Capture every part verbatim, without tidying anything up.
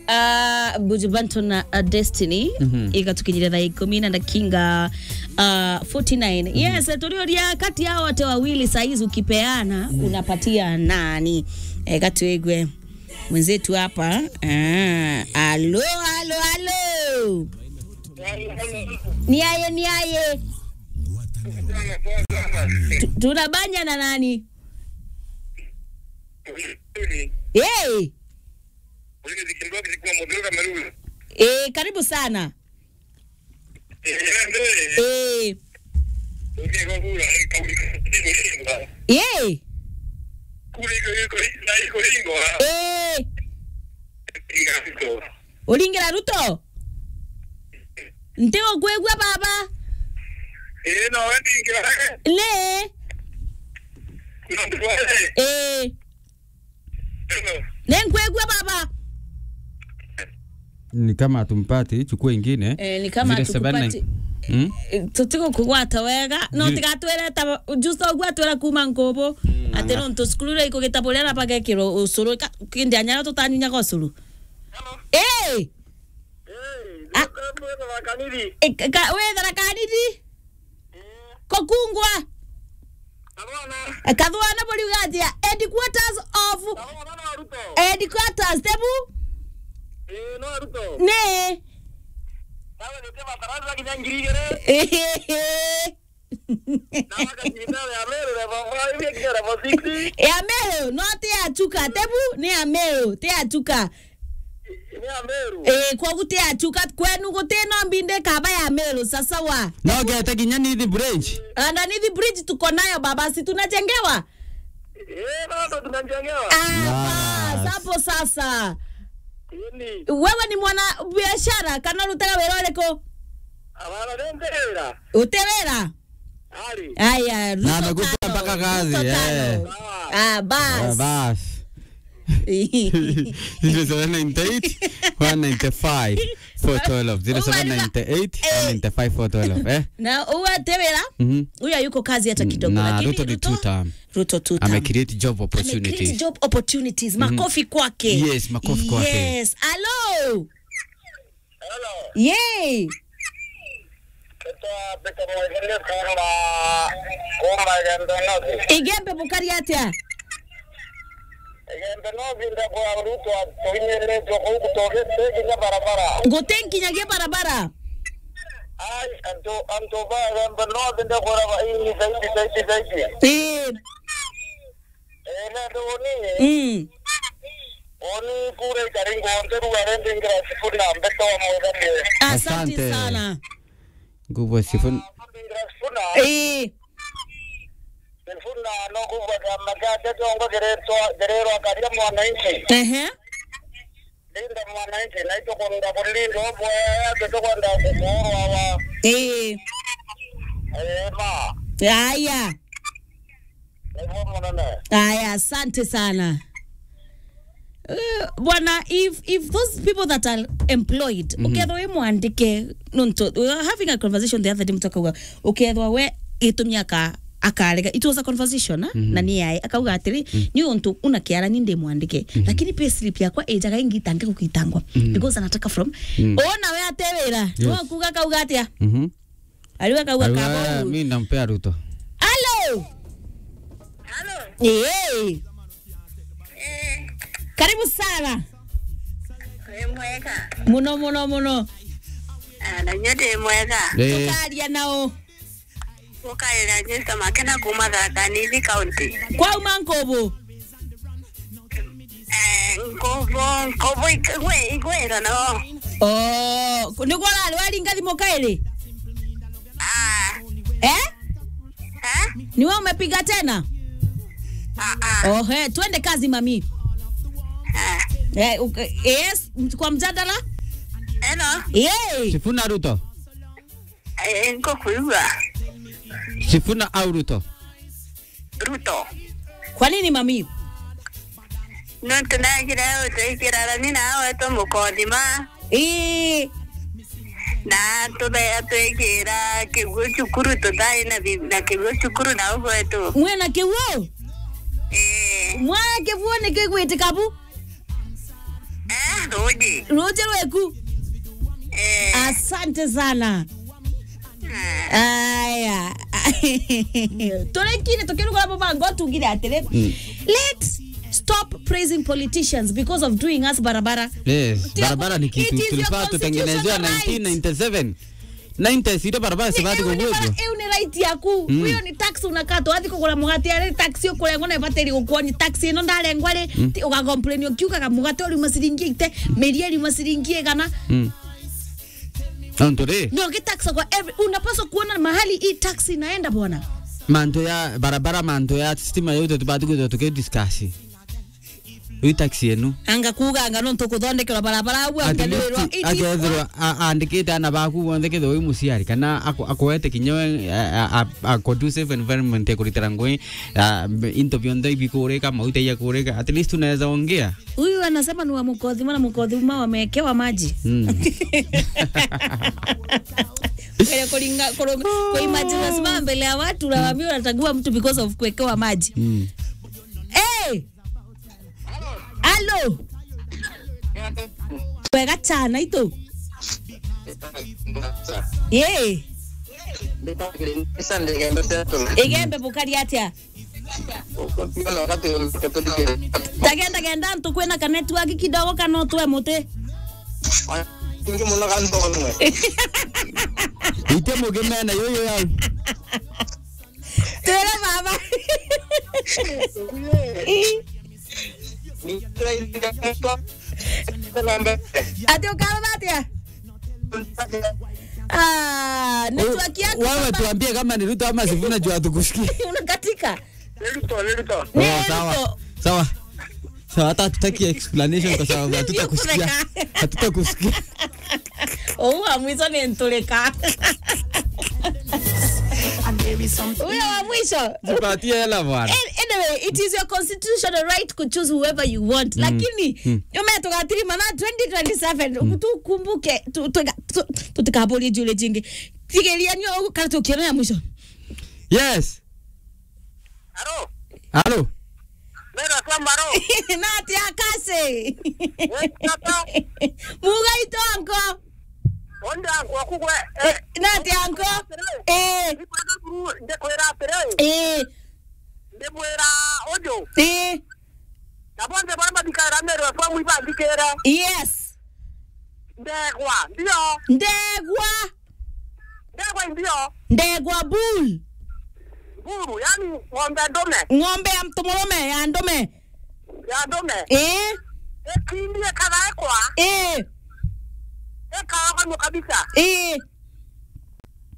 Ah, Buju Banton na, ah, Destiny, mhm, igatukinyire thaa ikumi na ndakinga, ah, forty-nine. Mhm. Yes, turiuria kati ya wote wawili saizi ukipeana, mm, unapatia nani? Eh, katuigwe mwenzetu hapa. Ah, alo, alo, alo. Ni aye, ni aye. Tu-, tunabanja na nani? Hey! Eh, karibu sana. Eh. Eh. Uringira Ruto? Nti ukwigua baba? Ii, no we ndingira. Ni? Nontu we. Ii. Hello. Ni nkwigua baba? Ni kama hatumpati, chukua ingine. Eh, ni kama zero seven nine hatukupati. Hmm? Eh, tutigukugwata wega. No, zero tigatwire ta just uguo atwira kuma Nkubu. Hmm. Ati nontu cukuru iria ikugitaburia na bagekirwo ucuru. Ka-, kindi anyara tutanyunyaga ucuru. Hello. Ii. Ii, ah, ndio Tharaka Nithi. Eh, ka-, ka-, wi Tharaka Nithi? Ii. Kokungwa. Kathwana. Eh, Kathwana buriuga atia? Headquarters of, Kathwana na Ruto. Headquarters, tebu? Ii, no Ruto. Ni. Nawe nite bataraza kinya ngiri igiri. Ehehe. Na wakacinda ya Meru level five, ikinya level six. Ya Meru, no ti ya Chuka, tebu ni ya Meru, ti ya Chuka. Ni ya Meru. Eh, kwogu ti ya Chuka, kwenu guti no mbinde kaba ya Meru, sasawa. No gete kinya Nithi Bridge. Underneath bridge tuko nayo baba, si tunajengewa? Eh, bado tunajengewa. Ah, bas, bas, hapo sasa. Ni. Wewe ni mwana biashara, kana urutaga wira uriku? Abana, ni nti wira. Uti wira? Ari. Aya, Ruto na amekupa tano, mpaka kazi, Ruto eh, tano. Sawa. Ah, bas. Ah, bas. Zero seven nine eight, one nine five, four twelve. Zero seven nine eight, one nine five, four twelve, eh? Na uwe uti wira, mhm, huyo hayuko kazi hata kidogo, na lakini Ruto ni Ruto, two term. Ruto two term. Ame create job opportunities. Ame create job opportunities. Mhm. Makofi kwake. Yes, makofi kwake. Yes. Hello. Hello. Yee. Nitwa Peter Mwegende kuuma, kuuma Igembe North. Igembe bukari atia? Igembe North ndakwa Ruto atuinyiritwe kuu, gutugite kinya barabara. Guti nkinyagia barabara? Ai, antu, antu ba Igembe North ndakwira ba, ii, zaidi, zaidi, zaidi. Ii. Eh, nandi uni. Mm. Uni kura ikari ngonte ruga rende ngira Sifuna mbeto wa mwethanie. Asante. Asante sana. Nguvu Sifuna. Ah, ngira Sifuna. Eh. Sifuna no kuva kiama kiake kiongo kiretwa, kirerwa Karia Mwananchi. Ehe. Linda Mwananchi, na itukwenda kulilinda ubwea, tutikwenda kukuurwa wa. Eh. Eh, ma. Aya. Niguo munene. Aya, asante sana. Uh, bwana, if, if those people that are employed, mhm, ukethwa wi mwandike, nontu, we were having a conversation the other day, mtu akauga, ukethwa we gitumi aka-, akarega. It was a conversation, eh? Mhm. Na ni yae, akauga atiri, mhm, ni untu una kiara ni ndi mwandike. Mhm. Lakini pay slip yakwa ijaga ingitange gukitangwa. Mhm. Because anataka from, mhm, ona we ate wira, yes, no kuga kauga atia? Mhm. Ariwa kauga. Ariwa kabo. Mi nampea Ruto. Hello. Hello. Hey. Eh. Karibu sana. Wi mwega? Muno, muno, muno. Ah, na nyo ndi mwega. Eh. Tukaria nao. Ukaira Jesa Makena kuma Tharaka Nithi County. Kwa uma Nkubu? Eh, Nkubu, Nkubu ik-, igwe-, igwira no. Oh, ku-, niguo urari waringa thimu kairi? Ah. Eh? Eh? Ni wewe umepiga tena? Ah, ah. Oh, he, twende kazi, mami. Ah. Eh, uke-, yes, kwa mjadala? Hello. Yay. Sifuna Ruto. Eh, nkukwigua. Sifuna au Ruto? Ruto. Kwa nini, mami? Nontu nagira utwikira rani na wetu mukothima. Ii. Na tube-, atwikira kiguo cukuru, tutai na bi-, na kiguo cukuru na ugwetu. Mwena kiguo? Ii. Mwana kiguo ni kigwitika bu? Eh? Ruji. Ruji rweku. Eh. Asante sana. Aya. Turekire tukirugura mubango tugire atiri. Mm. Let's stop praising politicians because of doing us barabara. Yes, barabara ni kitu tulifaa tutengenezewa nineteen ninety-seven. Ninety-seven barabara sibati kugwetwa. Iu ni right yaku. Mm. Hiyo ni tax unakatwa. Wathi kugura mugate ari tax ukurengwa na ibatiri gukuonia tax ino ndarengwa ri, mm, ti ugacomplain ukiugaga mugate uriuma ciringi ite, miria iriuma ciringi igana. Mm. Nontu ri? No, get tax kwa every, unapaswa kuona mahali hii tax inaenda bwana. Mantu ya barabara, mantu ya stima yote tubati kwithirwa tukidiscuss. Ui taxi enu. Anga kuuga anga nontu kuthondekerwa barabara au. At least, angelirwa, it is akethirwa a-, aandikite ana baku bonthe kethirwa wi muciari, kana aku-, akuete kinya we, a, a, a, a conducive environment ya kuritira ngui, a, into bionthe ibikurika, mauta ya kurika. At least unaweza ongea. Huyu anasema ni wa Mukothima na Mukothima wamewekewa maji. Mm. Kwenye kulinga, kuru-, kuimagine unasimama mbele ya watu na waambie unachagua mtu because of kuwekewa maji. Mm. Hey! Alo. Wega chana itu. Ye. Igembe bukari atia? Tagenda genda ntu kwina ka network kidogo kana utwe muti. Ite mugimena yuyu yau. Twire baba. Ii. Ati ukauga atia? Ah, network yako wewe baba. Tuambie kama ni Ruto ama Sifuna juu hatukusikia. Unakatika. Ni Ruto, ni Ruto. Ni Ruto. Oh, sawa. Sawa. Sawa, hata hatutaki explanation kwa sababu hatutakusikia. Hatutakusikia. Uu wa mwisho ni nturika. Huyo wa mwisho. Tupatie hela bwana. An-, anyway, it is your constitutional right to choose whoever you want. Mm. Lakini, mm, nyuma tugatirima na twenty twenty-seven, mm, tukumbuke, tu-, tu-, tu-, tutikaburie jule jingi. Tigeria nyo kana tukiona ya mwisho. Yes. Halo. Halo. Mera kwamba ro. Nati akase. Eh, tata. Muga itongo. Onde anko kugwe. Eh, nati anko. Eh. Ndikwenda kuru, ndikwira atiri. Eh. Ndimwira uju. Eh. Na bonthe baria bathikagira Meru F M ibanthikire. Yes. Ndegwa, ndio. Ndegwa. Ndegwa ndio. Ndegwa bull. Bull, yani ng'ombe ndume. Ng'ombe ya mtu murume, ya ndume. Ya ndume. Eh. Ikindi ikathaekwa. Eh. Ikaogonua kabisa. Eh.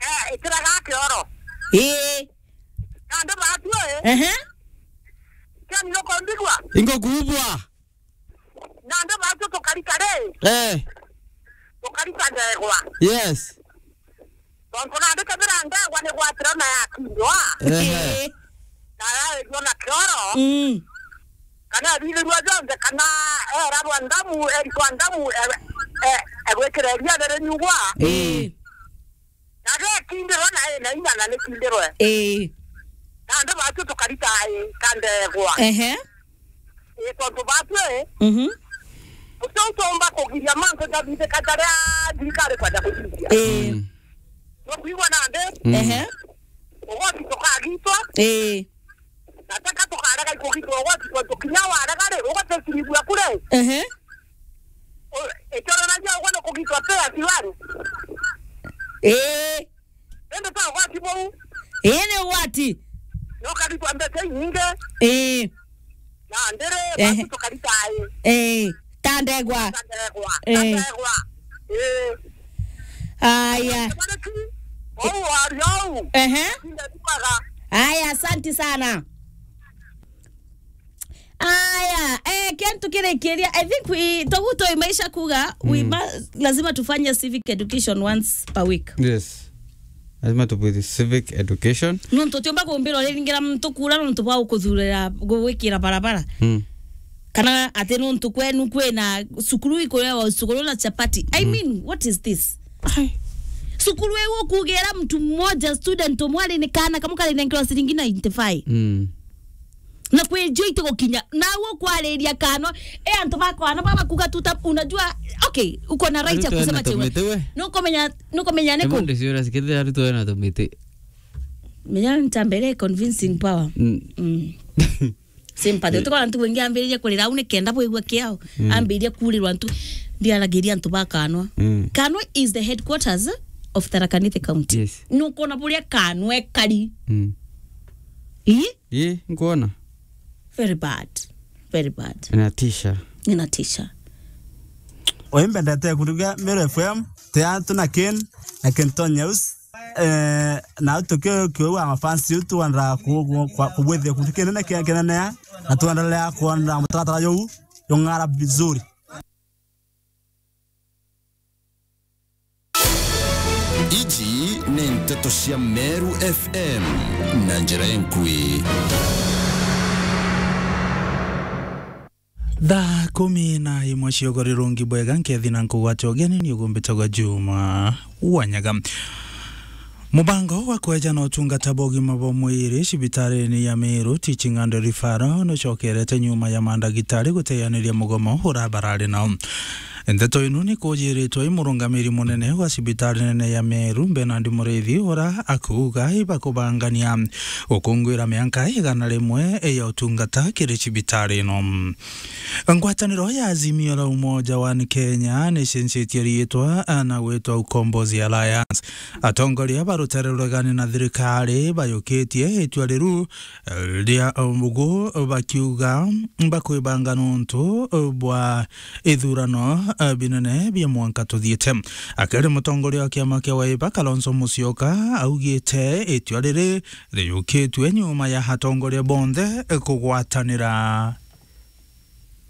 Eh, itiraga kioro. Eh. Na andu batue. Ehe. Kani nukundigua? Ingukubwa. Na andu batu tukarika ri? Eh. Tukarika ndegwa. Yes. Tontu nandi kethira ndegwa ni gwatira na yakindwa. Ehe. Na yaigua na kioro. Mm. Kana athithirua jonthe, kana eragwa ndamu, erikwa ndamu, e-, e-, egwikira iria riri nyugwa. Eh. Na gekindirwe na ina inya na nikindirwe. Eh. Na andu batu tukarita i ka ndegwa. Ehe. Ii, tontu batu i, mhm, uti utomba kugiria mantu jathithika jaria thirikari kwenda kuthithia. Ii. Mm. Nukwigua nandi? Mm. Ehe. Ugoti tukagitwa. Ii. Na teka tukarega ikugitwa ugoti, tontu kinya warega ri, ugoti ukirigua kuri? Ehe. U-, ikioranagia ugwe ni kugitwa pia tiwari? Ii. Indi to ugwati buu. Ii, ni ugwati. Nukarigua mbeca inyingi. Ii. Na ndiri, ehe, batu tukarita i. Ii, ta ndegwa. Ta ndegwa. Ii. Ta ndegwa. Ii. Aya. Bariki, ou wari ou. Ehe. Inde tukaga. Aya, asanti sana. Aya, eh, kintu kirikiria, I think we, toguo twi maisha kuga, we, mm, must, lazima tufanye civic education once per week. Yes. Lazima tupwire civic education. Nontu tiumba kumbira uriringira muntu kura nontu bwa gukuthurira, gugwikira barabara. Mm. Kana ati nontu kwenu kwina cukuru ikurewa cukuru na chapati. I, mm, mean, what is this? Ai. Cukuru iu ukugira mtu mmoja, student umwe ari ni kana kamwe karinenkerwa ciringi ninety-five. Mm. Na kwi njui tigukinya. Na ukwariria kanwa, e antu bakwana baba kuga tuta, unajua, okay, uko na right ya kusema chewe. Nukumenya, nukumenya niku. Emo ndiciura sikithira arutwo ena tumiti. Menya ntambere convincing power. Mm. Mm. Sympathy. Utikona ntu wingi ambiririe kurira au nikenda bwigua kiao. Mm. Ambiririe kurirwa ntu. Ndiaragiria antu ba kanwa. Mm. Kanwa is the headquarters of Tharaka Nithi County. Yes. Nukona buria kanwa ekari. Mm. Ii? Ii, nkuona. Very bad. Very bad. Inatisha. Inatisha. Oimbendete kuruga Meru F M, te antu na Ken, na Kenton News. Eh, na tukio kiu wa mafans yetu tuendelea ku-, ku-, kwa-, kubwithia kuntu kinene kia kinene, na tuendelea kuona mutaratara juu jung'ara vizuri. Iji ni nteto cia Meru F M na njira inkui. Thaa kumi na imwe cia ugori rungi bwega, nkethi na nkugwate ugeni ni ugumbitagwa Juma Wanyaga. Mubango wa kweja na utungata bwa ugima bwa mwiri cibitarini ya Meru Teaching and Referral nucokerete nyuma ya mandagitari guteaniria mugomo ura barari nao. Ndeto ino ni kujiritwe i murungamiri munene wa cibitari nene ya Meru, Bernard Muriithi, ura akuuga ibakubangania gukungwira mianka igana rimwe ya utungata kiri cibitari ino. Ngwataniro ya Azimio la Umoja One Kenya ni cenjetie riitwa na gwitwa Ukombozi Alliance. Atongoria ba rutere ruregani na thirikari bayukitie itua riru ria ugu bakiuga bakwibanga nontu bwa ithurano binene bia mwanka tuthiite. Akiri mutongoria wa kiama kia Wiper, Kalonzo Musyoka, augite itua riri riyukitue nyuma ya atongoria bonthe kugwatanira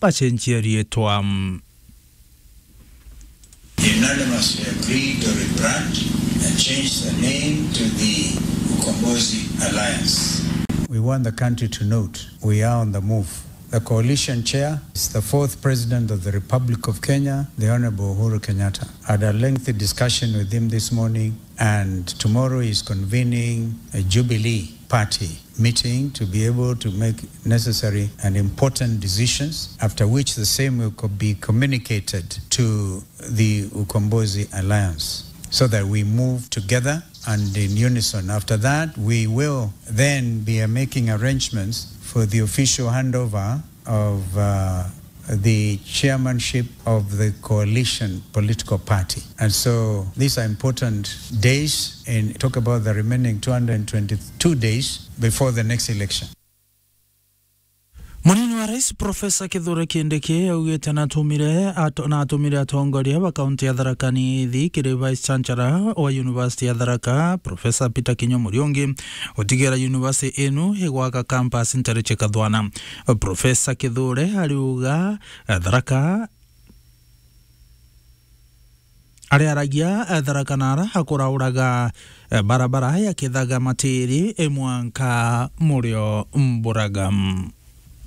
bacenjie riitwa. Unanimously agreed to rebrand and change the name to the Ukombozi Alliance. We want the country to note we are on the move. The coalition chair is the fourth president of the Republic of Kenya, the Honorable Uhuru Kenyatta. I had a lengthy discussion with him this morning, and tomorrow is convening a Jubilee party meeting to be able to make necessary and important decisions, after which the same will co-, be communicated to the Ukombozi Alliance, so that we move together and in unison. After that, we will then be, uh, making arrangements for the official handover of, uh, the chairmanship of the coalition political party. And so these are important days, and talk about the remaining two hundred twenty-two days before the next election. Munini wa Rais Profesa Kithure Kindiki augite natumire ato-, natumire atongoria ba kaunti ya Tharaka Nithi kiri Vice Chancellor wa University ya Tharaka, Profesa Peter Kinyo Muriungi, gutigira university inu igwaka campus ntere cia Kathwana. Profesa Kithure ariuga, eh, Tharaka ariaragia, eh, Tharaka nara akurauraga, eh, barabara ya Kithaga Matiri, eh, mwanka Murio Mburaga.